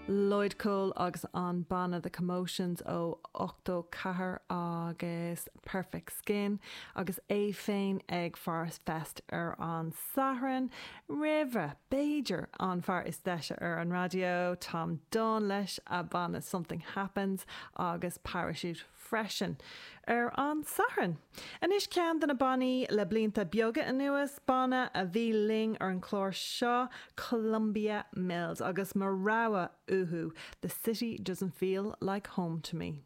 Lloyd Cole agus an banna The Commotions ó 84 agus Perfect Skin agus é féin ag Forest Fest ar an Satharn. Roimhe, b'fhéidir, an fear is deise ar an raidió, Tom Dunne leis a banna Something Happens agus Parachute freisin ar an Satharn. Anois ceann de na bannaí le blianta beaga anuas, banna a bhí linn ar an chlár seo, Columbia Mills, agus mo rogha uathu, The City Doesn't Feel Like Home To Me.